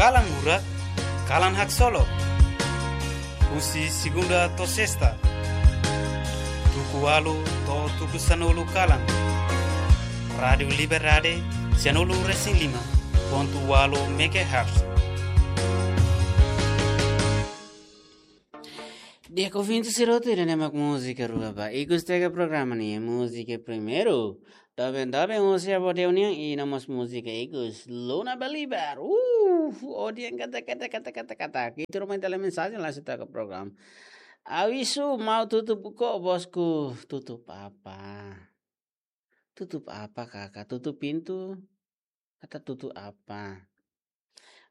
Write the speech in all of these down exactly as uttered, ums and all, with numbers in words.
Kalan Murak, kalan haksolok. Husi segunda to'o sesta, tuku ualu to'o tuku sanulu kalan. Rádiu Liberdade, sanulu resin lima pontu ualu megahertz. Di'ak ouvinte sira hotu, ida-ne'e mak múzika rua ba ikus teka programa nian, múzika primeiru. Doben, doben, husi Abu Deus nian, i no mós múzika ikus, Luna Belibar. Uh, odian kata, kata, kata, kata, kata. Kita rumah tele mensajen langsung taka programa. Avisu, mau tutup buko, bosku, tutup apa? Tutup apa, kakak? Tutup pintu? Atau tutup apa?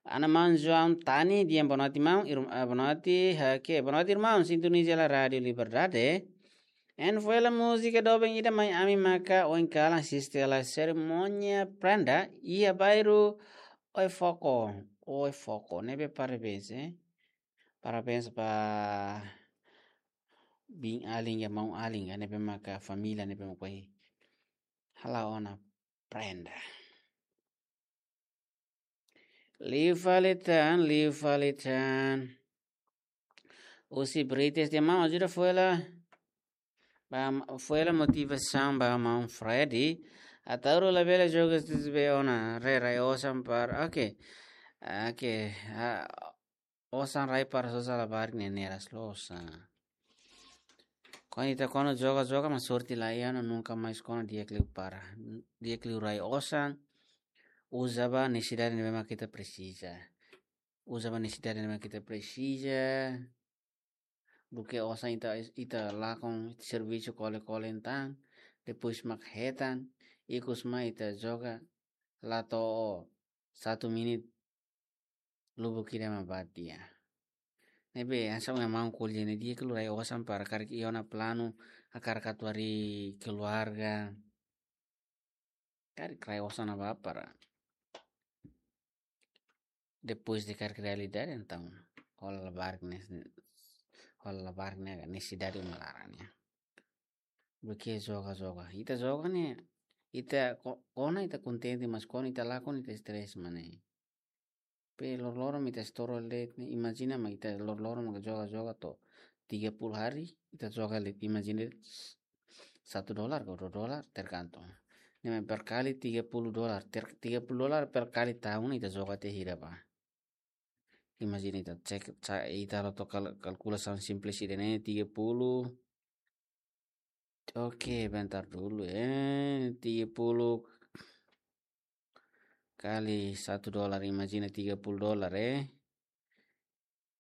Ana maun João Tani, di'ak, boa noite, maun. Ir-, ah, boa noite, oke, boa noite, irmaun. Sintoniza hela Rádiu Liberdade. Entaun foin hela múzika doben ida mai ami maka oin kalan, asiste hela serimónia prenda iha bairru Oefoko. Oefoko, ne'ebé parabéns, eh. Parabéns ba biin alin ka maun alin ka ne'ebé maka família ne'ebé maka hala'o ona prenda. Liu fali tan, liu fali tan. Husi British di'ak, maun, ajuda foin hela. Ba, foin hela motivasaun ba maun Freddy. Ataúru labele joga, se tiver ona, rai, rai osan para. Oke. Oke. Ah, osan rai para sosa labarik ne'e neras losa. Kuandu ita kuandu joga-joga mak sorte la iha, no nunka mais kuandu di'ak liu para. Di'ak liu rai osan. Uza ba nesesidade ne'ebé mak ita presiza. Uza ba nesesidade ne'ebé mak ita presiza. Duké osan ita, ita lakon, ita servisu kole-kole entaun, depois mak hetan, ikus mai ita joga, la to'o satu menit, lubuk ida mak bá tiha. Ne'ebé, hanesan maun ko'alia ne'e, di'ak liu rai osan para karik iha ona planu, hakarak atu harii keluarga. Karik rai osan ne'ebá para. Depois de karik realidade, entaun hola labarik ne'e, hola labarik ne'e, nesesidade uma laran nian. Duké joga-joga. Ita joga ne'e, ita ko-, kona ita kontente, mas kuandu ita lakon ita stress mak ne'e. Pe loroloron mak ita estoura de'it ne'e, imajina mak ita loroloron mak joga-joga to'o tiga puluh hari, ita joga de'it, imajina de'it satu dolar ka dua dolar, tergantung. Ne'e mak per kali tiga puluh dolar, ter-, tiga puluh dolar per kali tahun ita joga tiha hira bá. Imajina ita cek, ca-, ita halo to'ok kal-, kalkulasaun simples ida-ne'e, tiga puluh. Oke, bentar dulu, eh. Tiga puluh kali satu dolar, imajina tiga puluh dolar, eh.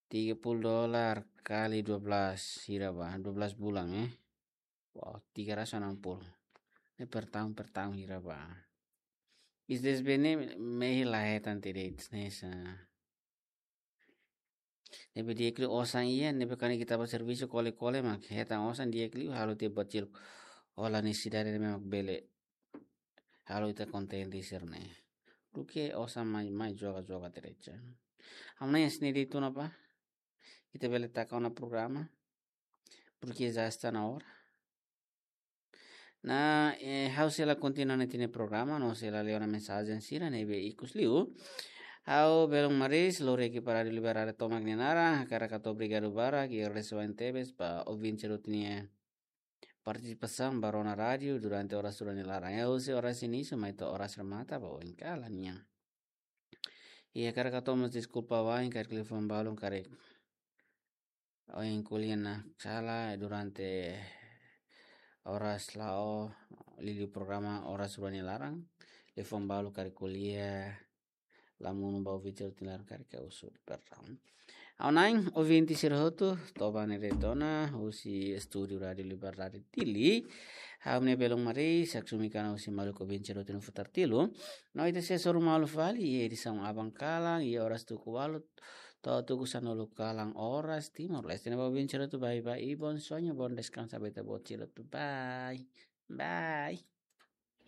Tiga puluh dolar kali dua belas, hira bá, dua belas bulan, eh. Wow, tiga ratus enam puluh. Ne'e per tahun, per tahun hira bá. Is this bene mehi la hetan tiha de'it hanesan. Ne'ebé di'ak liu osan iha, ne'ebé kuandu ita bá servisu kole-kole mak hetan osan, di'ak liu halo tiha buat seluk. Hola nesesidade ne'ebé mak bele halo ita kontente sira-ne'e. Duké osan mai, mai joga-joga tiha de'it. Ha'u hanoin hanesan ne'e de'it ona bá. Ita bele taka ona programa. Porque já está na hora. Ne'e, eh, ha'u sei la kontinua ona tiha ne'e programa, no sei la lee ona mensajen sira ne'ebé ikus liu. Ha'u belun Maris, lori ekipa Rádiu Liberdade tomak nia naran, hakarak hato'o obrigadu barak, i agradese tebes ba ouvinte sira hotu nia partisipasaun ba rona rádiu durante oras rua nia laran. Husi oras inísiu mai to'o oras remata ba oin kalan nian. I hakarak hato'o mós deskulpa wa'in karik liafuan balun karik ohin ko'alia ona sala durante oras la'o liuliu programa oras rua nia laran. Liafuan balu karik ko'alia la monu ba ouvinte sira hotu nia laran karik ha'u husu perdaun. Ha'u hanoin ouvinte sira hotu, toba ne'e de'it ona, husi estúdiu Rádiu Liberdade Dili. Ha'u-nia belun Maris, haksolok mai husi maluk ouvinte sira hotu nia futar tilu. No ita sei hasoru malu fali iha edisaun aban kalan, iha oras tuku ualu to'o tuku sanulu kalan oras Timor-Leste. Ne'e ba ouvinte sira hotu, bye bye, i bom sonho, bom descanso ba ita-boot sira hotu. Bye. Bye.